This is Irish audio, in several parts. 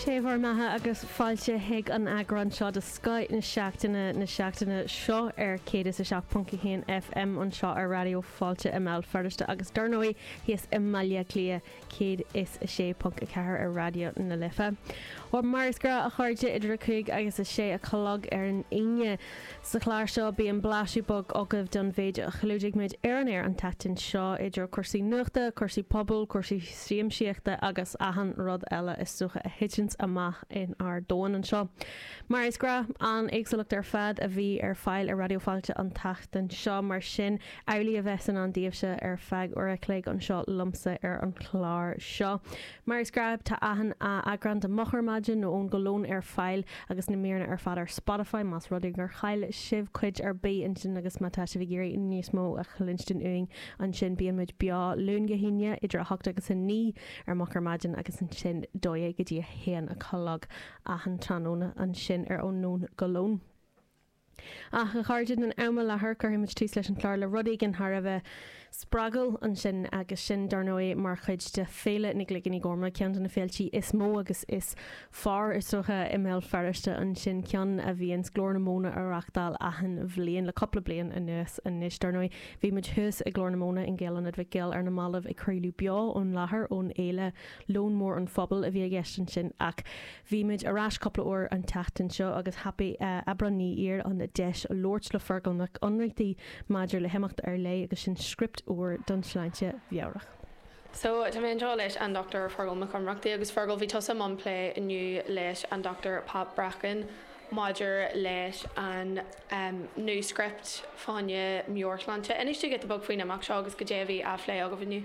Sé bhur mbeatha agus fáilte chuig an eagrán seo de Scoth na Seachtaine na seachtaine seo ar 107.1 FM anseo ar Raidió Fáilte i mBéal Feirste agus dar ndóigh thíos i mBaile Átha Cliath 106.4 ar Raidió na Life. Mar is gnáth a chairde idir 5 agus 6 a chlog ar an Aoine. Sa chlár seo bíonn blaiseadh beag agaibh den mhéid a chlúdaigh muid ar an aer an tseachtain seo, idir cúrsaí nuachta, cúrsaí pobail, cúrsaí siamsaíochta agus achan rud eile is dócha a thiteanns amach in ár domhan anseo. Mar is gnáth, an-éagsúlacht ar fad a bhí ar fáil ar Raidió Fáilte an tseachtain seo, mar sin amhlaidh a bheas i ndán daoibhse ar feadh uair a chloig anseo liomsa ar an chlár seo. Mar is gnáth, tá achan eagrán de Moch Ar Maidin nó Ón go Lón ar fáil agus na míreanna ar fad ar Spotify más rud é gur chaill sibh cuid ar bith ansin agus má tá sibh ag iarraidh níos mó a chluinstin uainn ansin bíonn muid beo Luan go hAoine idir 8 agus 9 ar Moch Ar Maidin agus ansin 12 go dtí 1 a chlog achan tráthnóna ansin ar Ón go Lón. Ach, a chairde, don am i láthair, cuirfidh muid tús leis an chlár le rud éigin thar a bheith spreagúil ansin, agus sin, dar ndóigh, mar chuid de Féile na gCloigíní Gorma, ceann de na féiltí is mó agus is fearr, is dócha, i mBéal Feirste ansin, ceann a bhíonns Glór na Móna a reachtáil achan bhliain le cúpla bliain anuas anois. Dar ndóigh, bhí muid thuas i nGlór na Móna in Gaelionad Mhic Gill ar na mallaibh ag craoladh beo ón láthair, ón fhéile, Lón Mór an Phobail a bhí i gceist ansin, ach. Bhí muid ar ais cúpla uair an tseachtain seo agus thapaigh Aibreán Ní Ír an deis labhairt le Fergal Mac Ionnrachtaigh maidir le himeacht ar leith agus sin script úr don tsláinte mheabhrach. So, tá mé anseo leis an Dr Fergal Mac Ionnrachtaigh agus Fergal, bhí tusa i mbun plé inniu leis an Dr Pat Bracken maidir leis an nuascript fá choinne meabhairshláinte. Inis dúinn giota beag faoin imeacht seo agus goidé a bhí á phlé agaibh inniu.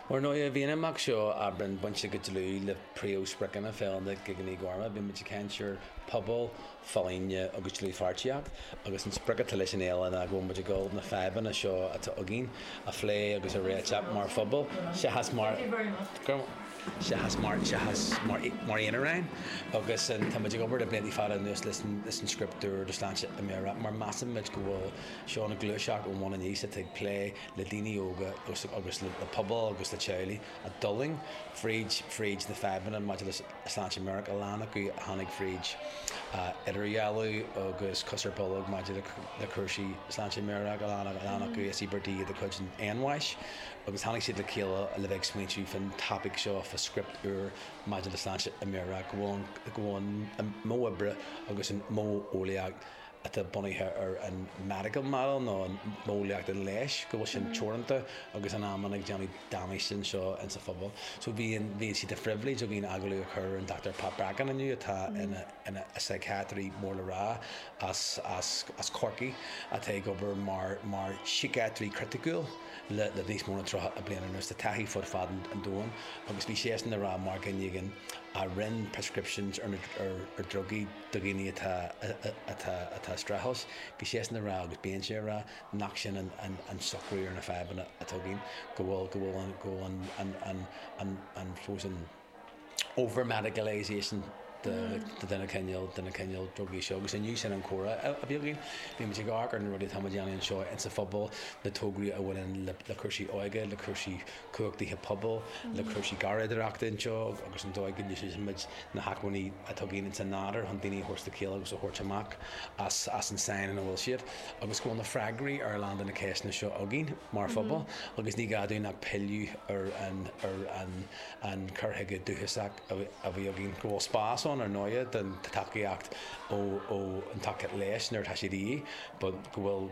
Ar ndóigh, bhí an imeacht seo, Aibreán, bainte go dlúth le príomhspriocanna Féile na gCloigíní Gorma. Bhí muid ag caint ar pobal, folláine agus dlúthpháirtíocht agus an sprioc atá leis an fhéile ná go bhfuil muid ag dul na fadhbanna seo atá againn a phlé agus a réiteach mar phobal seachas mar seachas mar seachas mar mar aonaráin agus tá muid ag obair le blianta fada anuas leis an leis an script úr do Sláinte Meabhrach mar measann muid go bhfuil seo ina gluaiseacht ón bhun aníos atá ag plé le daoine óga agus agus le pobail agus le teaghlaigh a d'fhulaing fríd fríd na fadhbanna maidir le sláinte meabhrach, a lán acu a tháinig fríd idirdhealú agus cos ar bolg maidir le cúrsaí sláinte meabhrach, a lán a lán acu is íobartaigh de chuid an anbháis agus tháinig siad le chéile le bheith ag smaointiú fán topaic seo, fá script úr maidir le sláinte meabhrach, go bhfuil go bhfuil an modh oibre agus an modh eolaíocht atá bunaithe ar an medical model nó an modheolaíocht an leighis, go bhfuil sin teoranta agus in amanna ag déanamh damáiste anseo insa phobal. So bhí an, bhí sé de phribhléid againn agallamh a chur ar an Dr Pat Bracken inniu atá ina, ina síciatraí mór le rá as, as, as Corcaigh atá ag obair mar, mar síciatraí criticiúil le, le níos mó ná 30 bliain anuas. Tá taithí fud fad an, an domhain agus bhí seisean ag rá mar dhuine éigin a rinn prescriptions ar na, ar, ar drugaí do dhaoine atá atá atá ag streachailt. Bhí seisean ag rá agus bíonn sé ag rá nach sin an an an socrú ar na fadhbanna atá againn, go bhfuil go bhfuil an go bhfuil an an an an an suppose an over medicalisation de de na cineál de na cineál drugaí seo agus inniu sin an comhrá a bhí againn. Bhí muid ag amharc ar na rudaí atá muid a dhéanamh anseo insa phobal, na tograí a bhaineann le le cúrsaí óige, le cúrsaí cumhachtaithe pobail, le cúrsaí garraíodóireachta anseo agus an dóigh go n-úsáidimid na hacmhainní atá againn insa nádúr chun daoine a thabhairt le chéile agus a thabhairt amach as as an sáinn ina bhfuil siad agus go bhfuil na freagraí ar a lán de na ceisteanna seo againn mar phobal agus ní gá dúinn ach pilleadh ar an ar an an cur chuige dúchasach a bhí againn. Go bhfuil spás ann ar ndóighe don tacaíocht ó ó an tacaíocht leighis nuair atá sé de dhíth but go bhfuil.